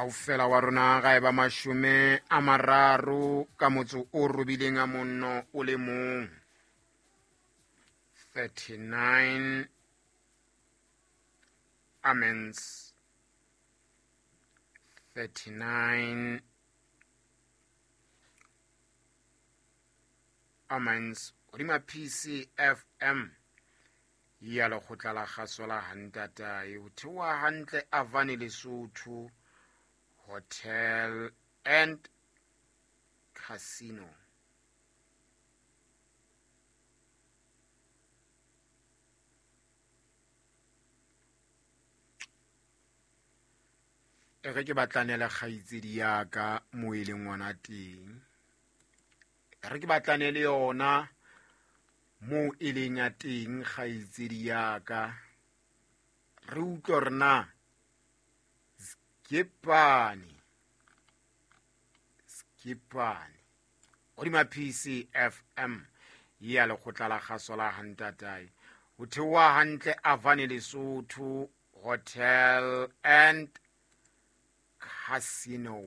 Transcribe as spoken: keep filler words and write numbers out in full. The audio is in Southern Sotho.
Kaofela wa rona ga e ba mashome a mararo ka motso o robileng a monno o le mong. thirty-nine amens. thirty-nine amens. Hodima P C F M ya lekgotla la kgaso la Hantatae, ho theoha hantle Avane Lesotho Hotel and Casino. E re ke batlane le kgaitsedi ya ka mo e leng ngwana teng. E re ke batlane le yona mo e leng ya teng kgaitsedi ya ka. Re utlwe hore na Skipane, Skipane hodima P C F M ya lekgotla la kgaso la Hantatae, ho theoha hantle Avane Lesotho Hotel and Casino.